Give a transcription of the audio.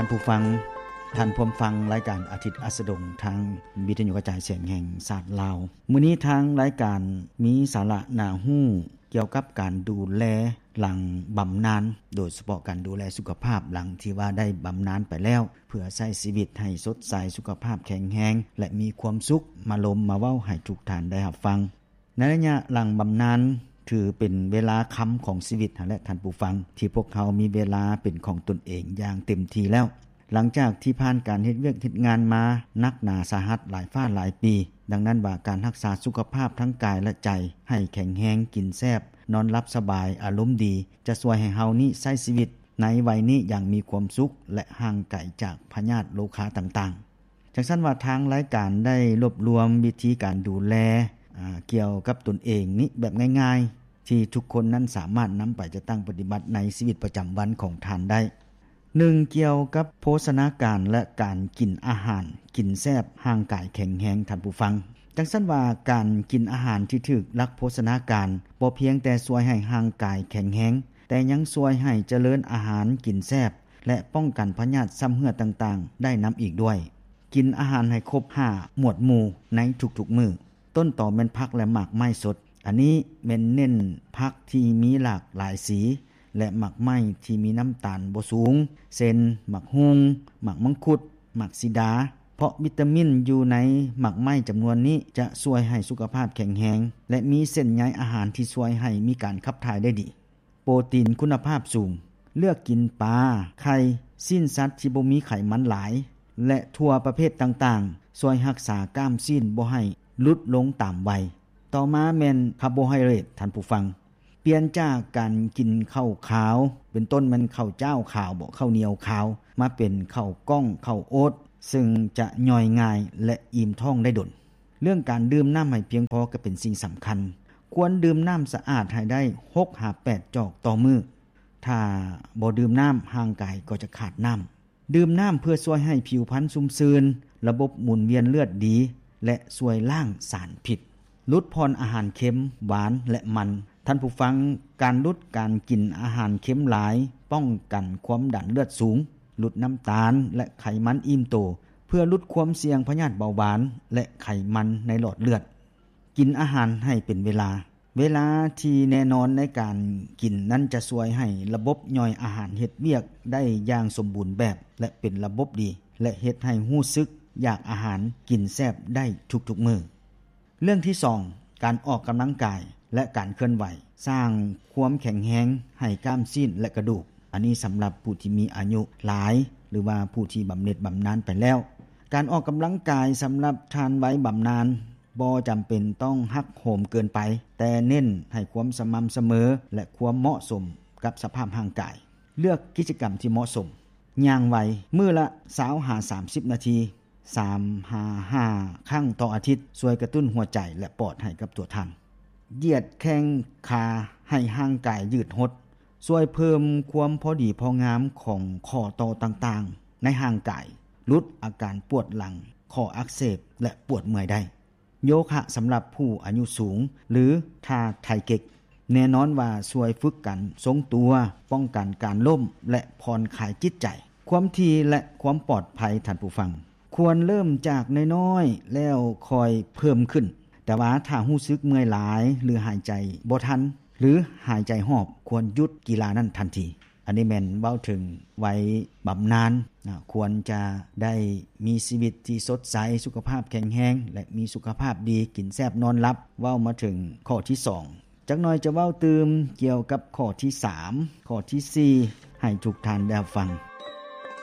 ທ່ານຜູ້ຟັງ, ທ່ານພວມຟັງລາຍການອາທິດອັສດງ ທາງວິທະຍຸກະຈາຍສຽງແຫ່ງຊາດລາວ. ມື້ນີ້ທາງລາຍການມີສາລະໜ້າຮູ້ກ່ຽວກັບການດູແລຫຼັງບຳນານ, ໂດຍສະເພາະການດູແລສຸຂະພາບຫຼັງທີ່ວ່າໄດ້ບຳນານໄປແລ້ວ, ເພື່ອໃຊ້ຊີວິດໃຫ້ສົດໃສ, ສຸຂະພາບແຂງແຮງ ແລະ ມີຄວາມສຸກ, ມາລົມມາເວົ້າໃຫ້ທຸກທ່ານໄດ້ຮັບຟັງ. ໃນໄລຍະຫຼັງບຳນານ ຖືເປັນເວລາຄຳຂອງຊີວິດຫັ້ນແຫຼະທ່ານຜູ້ຟັງ, ທີ່ພວກເຮົາມີເວລາເປັນຂອງຕົນເອງຢ່າງເຕັມທີ່ແລ້ວ. ຫຼັງຈາກທີ່ຜ່ານການເຮັດວຽກເຮັດງານມາໜັກໜາສາຫັດຫຼາຍຟ້າຫຼາຍປີ, ດັ່ງນັ້ນວ່າການຮັກສາສຸຂະພາບທັງກາຍ ແລະ ໃຈໃຫ້ແຂງແຮງ, ກິນແຊບ, ນອນຫຼັບສະບາຍ, ອາລົມດີ, ຈະຊ່ວຍໃຫ້ເຮົານີ້ໃຊ້ຊີວິດໃນໄວນີ້ຢ່າງມີຄວາມສຸກ ແລະ ຫ່າງໄກຈາກພະຍາດໂລຄາຕ່າງໆ. ຈັ່ງຊັ້ນວ່າທາງລາຍການໄດ້ລວບລວມວິທີການດູແລ ອາ ກ່ຽວກັບຕົນເອງນີ້ແບບງ່າຍໆ ທີ່ທຸກຄົນນັ້ນສາມາດນຳໄປຈັດຕັ້ງປະຕິບັດໃນຊີວິດປະຈຳວັນຂອງທ່ານໄດ້. ໜຶ່ງ ກ່ຽວກັບໂພຊະນາການ ແລະ ການກິນອາຫານ, ກິນແຊບ, ຮ່າງກາຍແຂງແຮງ, ທ່ານຜູ້ຟັງ. ຈັ່ງຊັ້ນວ່າການກິນອາຫານທີ່ຖືກຫຼັກໂພຊະນາການ ບໍ່ພຽງແຕ່ຊ່ວຍໃຫ້ຮ່າງກາຍແຂງແຮງ, ແຕ່ຍັງຊ່ວຍໃຫ້ຈະເລີນອາຫານ, ກິນແຊບ ແລະ ປ້ອງກັນພະຍາດຊຳເຮື້ອຕ່າງໆໄດ້ນຳອີກດ້ວຍ. ກິນອາຫານໃຫ້ຄົບຫ້າໝວດໝູ່ໃນທຸກໆມື້. ຕົ້ນຕໍແມ່ນຜັກ ແລະ ໝາກໄມ້ສົດ. ອັນນີ້ແມ່ນເນັ້ນຜັກທີ່ມີຫຼາກຫຼາຍສີ ແລະ ໝາກໄມ້ທີ່ມີນ້ຳຕານບໍ່ສູງ ເຊັ່ນ ໝາກຮຸ່ງ, ໝາກມັງຄຸດ, ໝາກສີດາ, ເພາະວິຕາມິນຢູ່ໃນໝາກໄມ້ຈຳນວນນີ້ຈະຊ່ວຍໃຫ້ສຸຂະພາບແຂງແຮງ ແລະ ມີເສັ້ນໃຍອາຫານທີ່ຊ່ວຍໃຫ້ມີການຂັບຖ່າຍໄດ້ດີ. ໂປຣຕີນຄຸນນະພາບສູງ. ເລືອກກິນປາ, ໄຂ່, ຊີ້ນສັດທີ່ບໍ່ມີໄຂມັນຫຼາຍ ແລະ ຖົ່ວປະເພດຕ່າງໆ ຊ່ວຍຮັກສາກ້າມຊີ້ນບໍ່ໃຫ້ຫຼຸດລົງຕາມໄວ. ຕໍ່ມາແມ່ນຄາໂບໄຮເດຣດ, ທ່ານຜູ້ຟັງ. ປ່ຽນຈາກການກິນເຂົ້າຂາວ, ເປັນຕົ້ນແມ່ນເຂົ້າຈ້າວຂາວບໍ, ເຂົ້າໜຽວຂາວ, ມາເປັນເຂົ້າກ້ອງ, ເຂົ້າໂອດ, ເຊິ່ງຈະຍ່ອຍງ່າຍ ແລະ ອີ່ມທ້ອງໄດ້ດົນ. ເລື່ອງການດື່ມນ້ຳໃຫ້ພຽງພໍກໍເປັນສິ່ງສຳຄັນ. ຄວນດື່ມນ້ຳສະອາດໃຫ້ໄດ້ຫົກຫາແປດຈອກຕໍ່ມື້. ຖ້າບໍ່ດື່ມນ້ຳ, ຮ່າງກາຍກໍຈະຂາດນ້ຳ. ດື່ມນ້ຳເພື່ອຊ່ວຍໃຫ້ຜິວພັນຊຸ່ມຊື່ນ, ລະບົບໝູນວຽນເລືອດດີ ແລະ ຊ່ວຍລ້າງສານພິດ. ຫຼຸດຜ່ອນອາຫານເຄັມ, ຫວານ ແລະ ມັນ. ທ່ານຜູ້ຟັງ, ການຫຼຸດການກິນອາຫານເຄັມຫຼາຍ ປ້ອງກັນຄວາມດັນເລືອດສູງ, ຫຼຸດນ້ຳຕານ ແລະ ໄຂມັນອີ່ມໂຕ ເພື່ອຫຼຸດຄວາມສ່ຽງພະຍາດເບົາຫວານ ແລະ ໄຂມັນໃນຫຼອດເລືອດ. ກິນອາຫານໃຫ້ເປັນເວລາ. ເວລາທີ່ແນ່ນອນໃນການກິນນັ້ນຈະຊ່ວຍໃຫ້ລະບົບຍ່ອຍອາຫານເຮັດວຽກໄດ້ຢ່າງສົມບູນແບບ ແລະ ເປັນລະບົບດີ ແລະ ເຮັດໃຫ້ຮູ້ສຶກຢາກອາຫານ, ກິນແຊບໄດ້ທຸກໆມື້. ເລື່ອງທີສອງ ການອອກກຳລັງກາຍ ແລະ ການເຄື່ອນໄຫວ ສ້າງຄວາມແຂງແຮງໃຫ້ກ້າມຊີ້ນ ແລະ ກະດູກ. ອັນນີ້ສຳລັບຜູ້ທີ່ມີອາຍຸຫຼາຍ ຫຼືວ່າຜູ້ທີ່ບຳເນັດບຳນານໄປແລ້ວ. ການອອກກຳລັງກາຍສຳລັບທ່ານໄວບຳນານ ບໍ່ຈຳເປັນຕ້ອງຮັກໂຫມເກີນໄປ, ແຕ່ເນັ້ນໃຫ້ຄວາມສະໝ່ຳສະເໝີ ແລະ ຄວາມເໝາະສົມກັບສະພາບຮ່າງກາຍ. ເລືອກກິດຈະກຳທີ່ເໝາະສົມ. ຍ່າງໄວ, ມື້ລະຊາວຫາສາມສິບນາທີ, ສາມຫາຫ້າຄັ້ງຕໍ່ອາທິດ, ຊ່ວຍກະຕຸ້ນຫົວໃຈ ແລະ ປອດໃຫ້ກັບຕົວທ່ານ. ຢຽດແຂ້ງຂາໃຫ້ຮ່າງກາຍຍືດຫົດ, ຊ່ວຍເພີ່ມຄວາມພໍດີພໍງາມຂອງຂໍ້ຕໍ່ຕ່າງໆໃນຮ່າງກາຍ, ຫຼຸດອາການປວດຫຼັງ, ຂໍ້ອັກເສບ ແລະ ປວດເມື່ອຍໄດ້. ໂຍຄະສຳລັບຜູ້ອາຍຸສູງ ຫຼື ທ່າໄທເກັກ ແນ່ນອນວ່າຊ່ວຍຝຶກການຊົງຕົວ, ປ້ອງກັນການລົ້ມ ແລະ ຜ່ອນຄາຍຈິດໃຈ. ຄວາມຖີ່ ແລະ ຄວາມປອດໄພ, ທ່ານຜູ້ຟັງ, ຄວນເລີ່ມຈາກນ້ອຍໆ ແລ້ວຄ່ອຍເພີ່ມຂຶ້ນ. ແຕ່ວ່າຖ້າຮູ້ສຶກເມື່ອຍຫຼາຍ ຫຼື ຫາຍໃຈບໍ່ທັນ ຫຼື ຫາຍໃຈຫອບ, ຄວນຢຸດກິລານັ້ນທັນທີ. ອັນນີ້ແມ່ນເວົ້າເຖິງໄວບຳນານນະ, ຄວນຈະໄດ້ມີຊີວິດທີ່ສົດໃສ, ສຸຂະພາບແຂງແຮງ ແລະ ມີສຸຂະພາບດີ, ກິນແຊບນອນຫຼັບ. ເວົ້າມາເຖິງຂໍ້ທີສອງ, ຈັກໜ່ອຍຈະເວົ້າຕື່ມກ່ຽວກັບຂໍ້ທີສາມ, ຂໍ້ທີສີ່ ໃຫ້ທຸກທ່ານໄດ້ຮັບຟັງ.